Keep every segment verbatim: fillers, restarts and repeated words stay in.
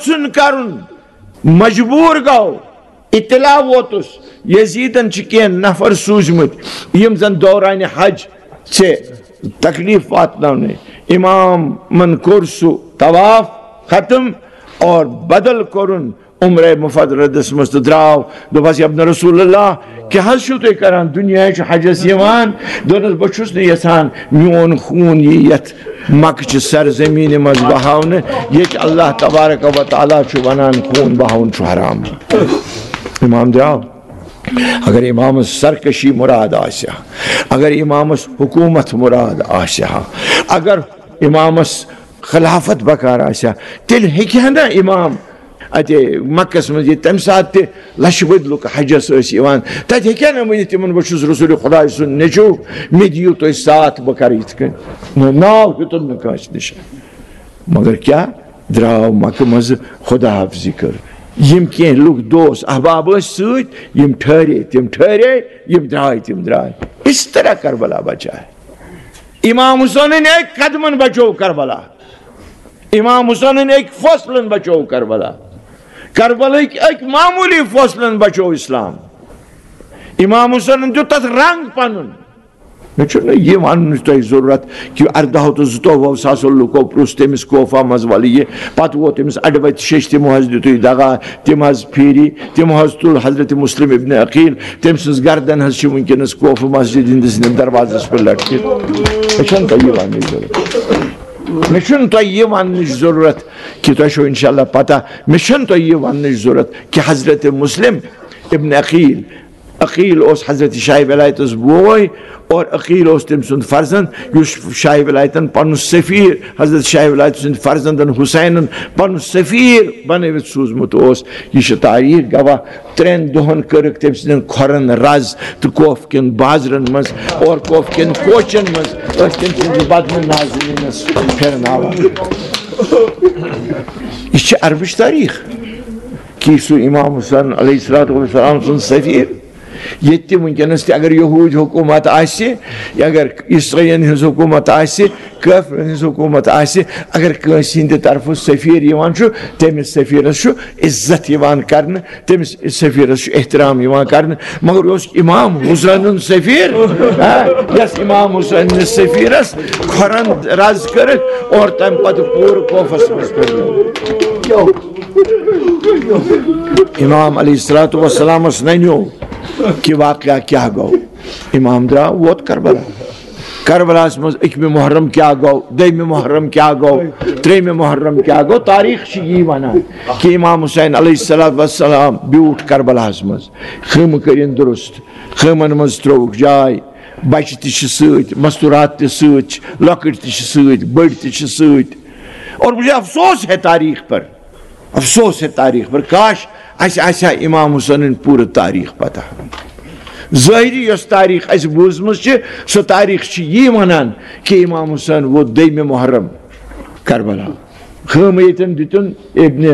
ژھُن کرُن، مجبوٗر گوٚو، اطلاع ووتُس، یزیدن چھِ کینٛہہ نفر سوٗزمٕتۍ، یِم زن دورانِ حج ژےٚ تکلیف واتناونٕے۔ امامن کوٚر سُہ طواف ختم اور بدل کوٚرُن عمرہ مفردس منٛز تہٕ درٛاو۔ دوٚپہَس، "یا ابن رسول اللہ، کیٛاہ حظ چھِو تُہۍ کران؟ دُنیا چھُ حجس یِوان۔" دوٚپنَس، "بہٕ چھُس نہٕ یژھان میون خوٗن یی یَتھ مکہٕ چہِ سرزمینہِ منٛز بہاونہٕ، ییٚتہِ اللہ تبارک و تعالیٰ چھُ ونان خوٗن بہاوُن چھُ حرام۔" امام درٛاو۔ اگر امامس سرکشی مراد آسہِ ہا، اگر امامس حکومت مراد آسہِ ہا، اگر امامس خلافت بکار آسہِ ہا، تیٚلہِ ہیٚکہِ ہا نہ امام اَتہِ مکس منٛز یہِ تَمہِ ساتہٕ تہِ لَچھِ بٔدۍ لُکھ حجس ٲسۍ یِوان، تَتہِ ہیٚکہِ ہا نہ ؤنِتھ تِمن، "بہٕ چھُس رسول خۄداے سُنٛد نیٚچوٗ، مےٚ دِیِو تُہۍ ساتھ، بہٕ کَرٕ یِتھ کٔنۍ۔" ناو ہیوٚتُن نہٕ کٲنٛسہِ نِش۔ مگر کیٛاہ؟ درٛاو مکہٕ منٛزٕ خدا حافظی کٔر۔ یِم کینٛہہ لُکھ، دوس احباب ٲسۍ سۭتۍ، یِم ٹھہرے، تِم ٹھہرے، یِم درٛاے، تِم درٛاے۔ اس طرح کربلا بچا ہے۔ امام حسینن أکۍ قدمن بچو کربلا۔ امام حسینن أکۍ فٲصلن بچو کربلا۔ کربلٕکۍ أکۍ معموٗلی فٲصلن بچو اسلام۔ امام حسینن دیُت تتھ رنگ پنُن۔ مےٚ چھُنہٕ یہِ وننٕچ تۄہہِ ضروٗرت کہِ ارداہو تہٕ زٕتووُہو ساسو لُکو پرُژھ تٔمِس کوفہ منٛز، "ولہٕ یہِ۔" پتہٕ ووت تٔمِس اڈٕ وتہِ شیٚچھ، تِمو حظ دیُتُے دغا، تِم حظ پھیٖری، تِمو حظ تُل حضرت مسلم ابن عقیل، تٔمۍ سٕنٛز گردن حظ چھِ وٕنکیٚنس کوفہ مسجد ہٕنٛدِس اندر دروازس پٮ۪ٹھ لٹکِتھ۔ مےٚ چھَنہٕ تۄہہِ یہِ وننٕچ ضروٗرت۔ مےٚ چھُنہٕ تۄہہِ یہِ وننٕچ ضروٗرت کہِ تۄہہِ چھو انشاءاللہ پتہ، مےٚ چھَنہٕ تۄہہِ یہِ وننٕچ ضروٗرت کہِ حضرت مسلم ابن عقیل، عقیل اوس حضرت شاہ ولایتس بوے اور عقیل اوس تٔمۍ سُنٛد فرزند، یُس شاہ ولایتن پنُن سفیر، حضرت شاہ ولایت سٕنٛدِ فرزندن حسینن پنُن سفیر بنٲوِتھ سوٗزمُت اوس۔ یہِ چھِ تاریخ گواہ۔ ترٛٮ۪ن دۄہن کٔرٕکھ تٔمۍ سٕنٛدٮ۪ن کھۄرن رز تہٕ کوفہٕ کٮ۪ن بازرن منٛز اور کوفہٕ کٮ۪ن کوچن منٛز ٲسۍ تٔمۍ سٕنٛدِس بدنہٕ نازنینس پھِرناوان۔ یہِ چھِ عربٕچ تاریخ۔ کہِ سُہ امام حسین علیہ الصلوۃ والسلام سُنٛد سفیر، ییٚتہِ تہِ وٕنکیٚنَس تہِ اگر یہوٗدۍ حکوٗمت آسہِ، اگر عیسٲیَن ہٕنٛز حکوٗمت آسہِ، کٲفرَن ہٕنٛز حکوٗمت آسہِ، اگر کٲنٛسہِ ہٕنٛدِ طرفہٕ سفیر یِوان چھُ، تٔمِس سفیرَس چھُ عزت یِوان کرنہٕ، تٔمِس سفیرَس چھُ احترام یِوان کرنہٕ۔ مگر یہِ اوس امام حسینُن سفیر، ہا، یَس امام حسینِس سفیرَس کھۄرَن رز کٔرٕکھ اور تَمہِ پتہٕ پوٗرٕ کوفَس منٛز پھِرنٲو۔ امام علیہ الصلوۃ والسلامس ننیو کہ واقعہ کیا گو۔ امام درا ووت کربلا۔ کربلاہس منٛز اکمِ محرم کیا گو، دوٚیمِ محرم کیا گو، ترٛیٚیمِ محرم کیا گو۔ تاریخ چھِ یی ونان کہ امام حسین علیہ الصلوۃ والسلام بیوٗٹھ کربلاہس منٛز، خیمہٕ کٔرِن درست، خیمن منٛز ترٛووُکھ جاے، بچہِ تہِ چھِ سۭتۍ، مستورات تہِ سۭتۍ چھِ، لۄکٕٹۍ تہِ چھِ سۭتۍ، بٔڑۍ تہِ چھِ سۭتۍ۔ اور مجھے افسوس ہے تاریخ پر، افسوس ہے تاریخ پر، کاش اسہِ آسہِ ہا امام حسینٕنۍ پوٗرٕ تاریخ پتہ۔ ظٲہری یۄس تاریخ اسہِ بوٗزمٕژ چھِ، سۄ تاریخ چھِ یی ونان کہ امام حسین ووت دوٚیمہِ محرم کربلا۔ خٲمہٕ ییٚتٮ۪ن دیُتُن ابن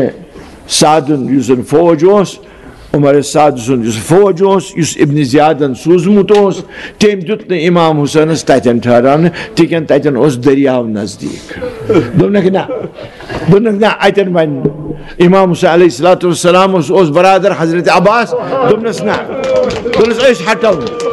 سعدُن، یُس زن فوج اوس، عمر سعد سُنٛد یُس فوج اوس، یُس ابن زیادن سوٗزمُت اوس، تٔمۍ دیُت نہٕ امام حسینس تتٮ۪ن ٹھہراونہٕ، تِکیٛازِ تتٮ۪ن اوس دٔریاو نزدیٖک۔ دوٚپنکھ، نہ، دوٚپنکھ، نہ، اتٮ۪ن بنہِ نہٕ۔ امام حسین علیہ الصلوۃ والسلام اوس، اوس برادر حضرت عباس، دوٚپنس، نہ، دوٚپنس، أسۍ ہٹو نہٕ،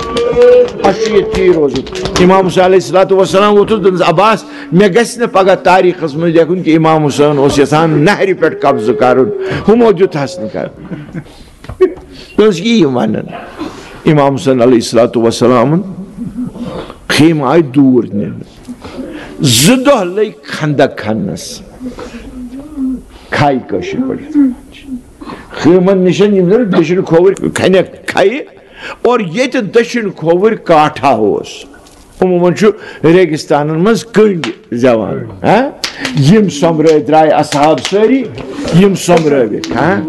اسہِ چھُ ییٚتھی روزُن۔ امام حسین علیہ الصلوۃ والسلام ووٚتھُس، دوٚپنس، عباس، مےٚ گژھِ نہٕ پگاہ تاریخس منٛز لیکھُن کہِ امام حسین اوس یژھان نہرِ پٮ۪ٹھ قبضہٕ کرُن، ہُمو دیُتہس نہٕ کرُن۔ تہٕ ٲس یی ونان۔ امام حسین علیہ الصلوۃ والسلامن خیمہٕ آیہِ دوٗر نِنہٕ۔ زٕ دۄہ لٔگۍ خندق کھننس۔ کھاے کٲشِر پٲٹھۍ۔ خیمن نِشن یِم زن دٔچھِنۍ کھووٕرۍ کھنٮ۪کھ کھایہِ، اور ییٚتہِ دٔچھِنۍ کھووٕرۍ کاٹھا اوس۔ عموٗماً چھُ ریگستانن منٛز کٔنٛڈۍ زٮ۪وان، ہا؟ یِم سۄمبرٲے درٛاے اصحاب سٲری، یِم سۄمبرٲوِکھ، ہا؟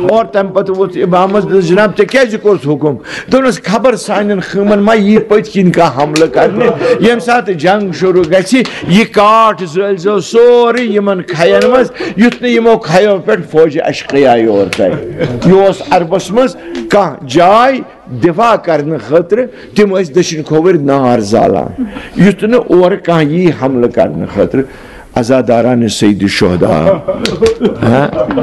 اور تَمہِ پتہٕ ووٚتھ اِمامس، دوٚپُس، "جناب، ژےٚ کیٛازِ کوٚرُتھ حُکُم؟" دوٚپنس، "خبر سانٮ۪ن خٲمن ما یی پٔتۍ کِنۍ کانٛہہ حملہٕ کرنہِ، ییٚمہِ ساتہٕ جنگ شروٗع گژھِ، یہِ کاٹھ زٲلۍ زیو سورُے یِمن کھین منٛز، یُتھ نہٕ یِمو کھیو پٮ۪ٹھ فوجہِ اشقیا یور ترِ۔" یہِ اوس عربس منٛز کانٛہہ جاے دفاع کرنہٕ خٲطرٕ، تِم ٲسۍ دٔچھِنۍ کھووٕرۍ نار زالان، یُتھ نہٕ اورٕ کانٛہہ یی حملہٕ کرنہٕ خٲطرٕ۔ عزاداران سید شہدا، ہاں؟